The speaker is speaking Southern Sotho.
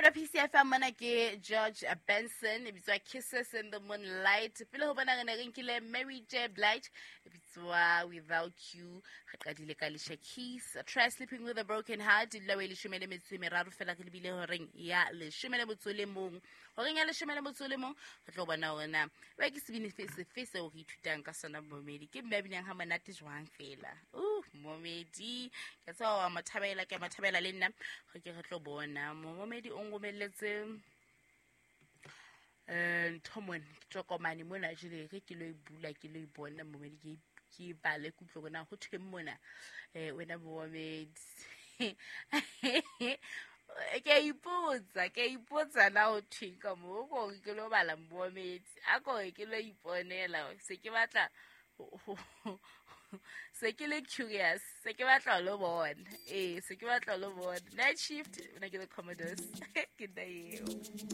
Momelo PCFM mona ke George Benson e bitswa Kisses in the Moonlight. Pele ho bona re ne re nkile Mary J Blige e bitswa Without You. Re qadile ka Alicia Keys, Try Sleeping with a Broken Heart. Dula o e 13 fela re lebile horeng ya 11. Horeng ya 11 re tlo bona hore na ba ke sebini sefe seo re ithutang ka sona momedi. Ke mme a binang ha monate jwang fela. Momedi ke tseba wa mo thabela, ke a mo thabela le nna. Re ke re tlo bona momedi o nromelletse ntho mona, ke tokomane mona jwale re ke lo e bula, ke lo e bona momedi, ke e bale, ke utlwe hore na ho thweng mona. Wena momedi ke a ipotsa, ke a ipotsa na ho thweng ka moo, ko re ke lo bala momedi, a ko re ke lo iponela, se ke batla se ke le curious, se ke batla ho lo bona. Ee, se ke batla ho lo bona. Night Shift, nna ke The Commodores. Ke nna eo.